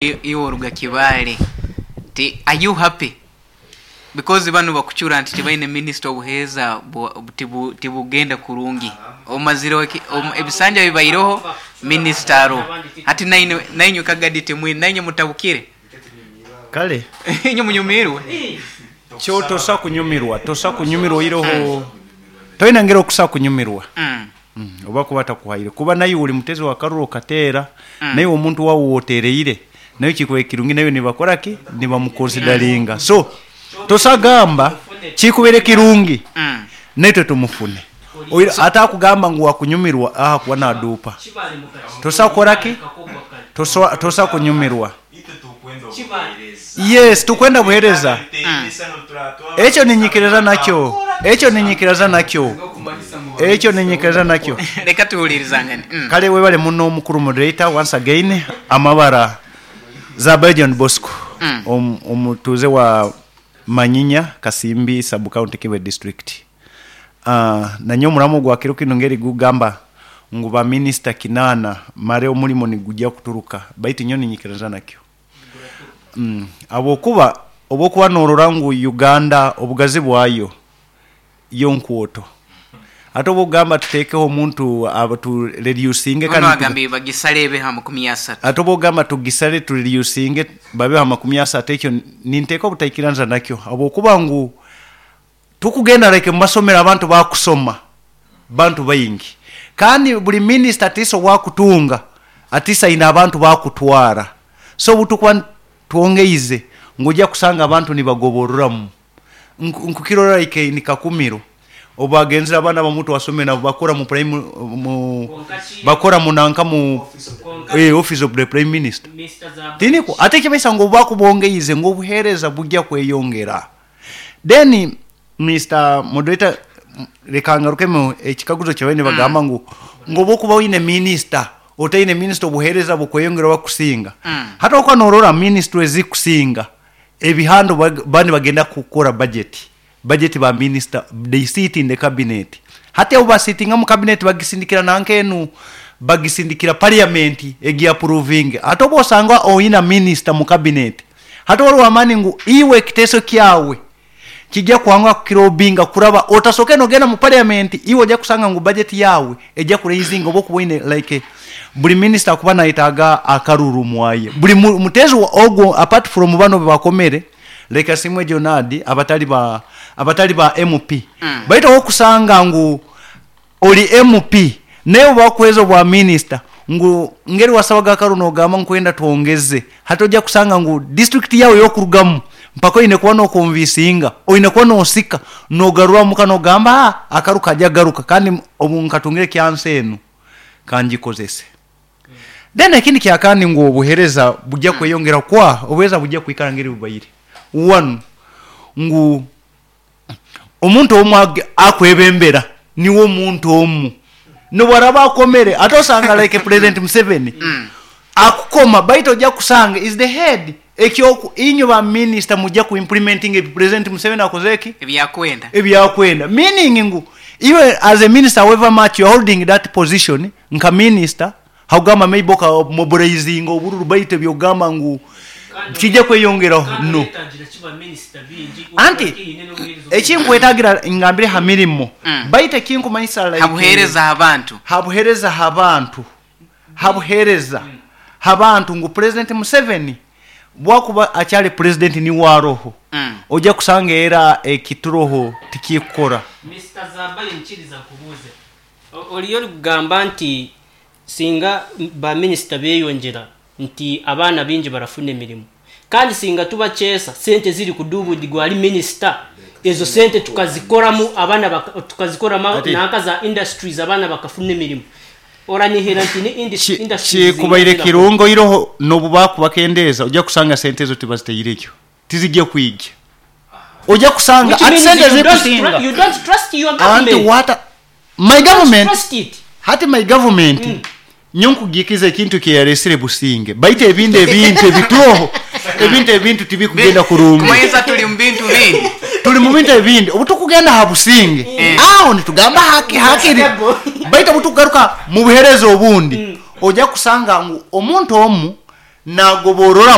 Iwe oruga Kibaale nti are you happy because banu bakucura nti tibaine minisita obuheereza tibugenda kurungi omazire ebisanja bibaireho minisita aroho hati nainywe kagadi timwine nainywe mutabukire. Kale. Inywe munyumiirwe. Kyo tosa kunyumirwa, tosa kunyumirwa oihireho toine ngeri okusa kunyumirwa oba kuba atakuhaire kuba naiwe oli mutezi wa karuru okateera, naiwe omuntu waawe w'oteereire naiwe kikubaire kirungi naiwe nibakora ki? Nibamukonsidaringa. So tosa gamba kikubaire kirungi naitwe tumufune. Oira ate akugamba ngu wakunyumirwa ahakuba naduupa. Tosa kukora ki? Tosa tosa kunyumirwa. Yes, tukwenda buhereza. Ekyo ninyikiriza nakyo. Ekyo ninyikiriza nakyo. Ekyo ninyikiriza nakyo. Leka tuhulirizangane. Kale webale muno mukuru moderator once again. Amabara Zabayo John Bosco omutuuze wa Manyinya, Kasimbi sub county Kibwe district. Nanye omulamwa ogwa kiro kinu ngeri gugamba ngu ba minisita kinaana mare omulimo nigugya kuturuka baitu nyowe ninyikiriza nakyo. Habwokuba obwokuba norora ngu Uganda obugazi bwayo yo nkwoto ate obwokugamba tutekeho omuntu tu reducinge Ono agambye bagisale ebeho amakumi asatu. Ate obwokugamba tugisale tu reducinge babeho amakumi asatu ekyo ninteekwa obutaikiranza nakyo habwokuba ngu Tukugenda like mumasomero abantu bakusoma bantu baingi kandi buli minister atisa owakutunga atisa aine abantu bakutwara so obutukuba twongeize ngu oja kusanga abantu nibagoborramu nkukirora like in Kakumiro obubagenzire abaana abamu twasomere nabo bakora mu prime mu bakora mu nanka mu office of the prime minister tinikwo? Ate ekibaisa ngu obubakubongeize ngu obuhereza bugya kweyongera. Then Mister Moderator leka ngarukemu ekikaguzo kyabaire nibagamba ngu ngu obu okuba oine minisita otaine minisita obuhereza bukweyongera oba kusinga. Hati obu okuba norora minisitule ezikusinga ebihanda obu baba nibagenda kukora budget, budget ba minisita they sit in the cabinet. Hati obu basitinga mu cabinet bagisindikira nanka enu bagisindikira parliament egi approvinge. Hati obu osanga oina minisita mu cabinet Hati waliwo amani ngu iwe ekiteeso kyawe kija kwanguha kukirobinga kuraba otasoke nogenda mu parliament iwe oja kusanga ngu budget yawe eja kuraizinga oba okuba oine like buli minister akuba nayetaaga akaruru mwaye buli muteezi ogwo apart from bano bebakomere like Asiimwe Jonard abatali ba abatali ba MP baitu owokusanga ngu Ori MP naye obubakuhweza obwa minister ngu ngeri wasabaga akaru nogamba nkwenda twongeze hati oja kusanga ngu district yawe eyokurugamu mpaka oine kuba nokonvisinga oine kuba nosika nogarura muka nogamba haa akaru kaja garuka kandi obu nkatungire ekyansi enu kangikozese. Then ekindi kyakandi ngu obuhereza buja kweyongera kwa obuhereza buja kwikara ngeri bubaire one ngu Omuntu omu akwebembera niwe omuntu omu nobwaraba akomere ate osanga like president Museveni akukoma baitu oja kusanga is the head ekyoku inywe ba minister muja ku implementinga ebi president Museveni akoze ki? Ebyakwenda. Ebyakwenda meaning ngu iwe as a minister however much you are holding that position nka minister Hakugamba maybe oka mobilizinga obururu baitu ebyokugamba ngu kija kweyongeraho no. Anti ekinkwetagira ngambire ha mirimo baitu ekinkumanyisa like Habuhereza ha bantu. Habuhereza ha bantu, habuhereza ha bantu ngu President Museveni bwakuba akyali President niwe aroho oja kusanga era ekituroho tikikukora. Mister Zabayo nyikiriza nkubuuze. Oriyo orikugamba nti Singa ba minisita beyongyera nti abaana baingi barafuna emirimo. Kandi singa tubakyesa sente eziri kudubudigwa ahari minisita, ezo sente tukazikoramu abaana tukazikoramu nanka za industries abaana bakafuna emirimo. Oranihira nti ni industries zingahi Kikubaire ezirakora? kirungi oiroho nobu bakubakendeeza oja kusanga sente ezo tibazitairekyo tizija kwija. Oja kusanga Which ati means sente you don't ezikusinga you don't trust your anti government. what my You don't government trust it. Hati my government nyowe nkugiikiza ekintu ekiyaresire Businge baitu ebindi ebintu ebituroho ebintu ebintu tibikugenda kurungi. Kumanyisa tuli mu bintu bindi. Tuli mu bintu ebindi obu tukugenda ha Businge aho nitugamba haki hakiri baitu obu tukugaruka mu buhereza obundi oja kusanga ngu omuntu omu. Nagoborora.